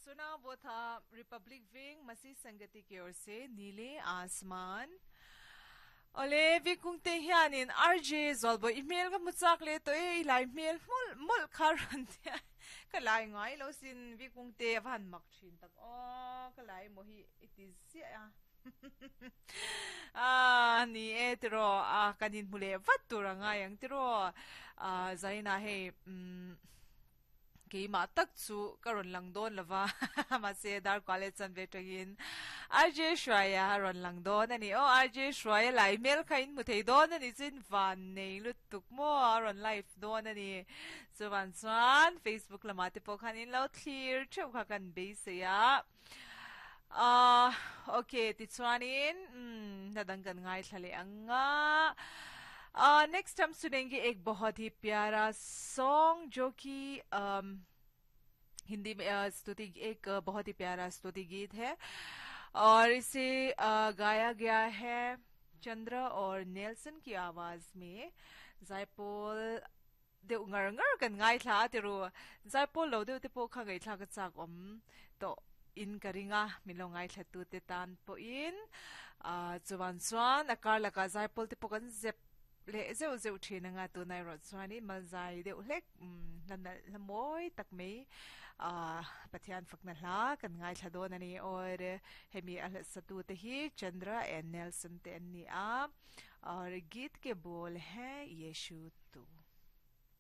सुना वो था रिपब्लिक विंग मसीह संगति की ओर से नीले आसमान। Ole Vikungte hianin RJ Zawlbawi i hmel ka hmu chak leh tawh e, i lai hmel hmawlh mawlh kha rawn tia ka lai ngai lo sin Vikungte a va han mak thin tak aw ka lai maw hi i ti ziah a ah ni e tiraw a kan inhmu leh vat tur a ngai ang tiraw ah Zaina hei umm Keimah tak chu ka rawn lang dawn lo va, mahse Darkua leh Chanve atangin RJ Hruaia a rawn lang dawn a ni. Aw RJ Hruaia lai hmel kha in hmu thei dawn a ni chu in van nei lutuk maw a rawn live dawn a ni. Chuvan chuan Facebook lamah te pawh khan in lo thlir theuh kha kan beisei a. Ahh ok tichuanin umm hna dang kan ngaithla leh ang a. Ahh next hum sunenge ek bahut hi pyara song jo ki umm Hindi mein स्तुति एक बहुत ही प्यारा स्तुति गीत है और इसे गाया गया है चंद्र और नेल्सन की आवाज में जायपोल deuh ngar ngar kan ngaithla a tiru. Zaipawl lo deuh te pawh kha ngaihthlak a chak awm tawh in ka ring a, min lo ngaithla tu te tan pawhin ah chuan chuan a kar lakah zaipawl te pawh kan zep leh zeuh zeuh thin anga tunah erawh chuanin malzai deuh hlek umm hla nalh hla mawi tak mai ah Pathian fakna hla kan ngaithla dawn a ni. Aw hemi a hlasa tu te hi Chandra and Nelson te an ni a, aur geet ke bol hai Yeshu.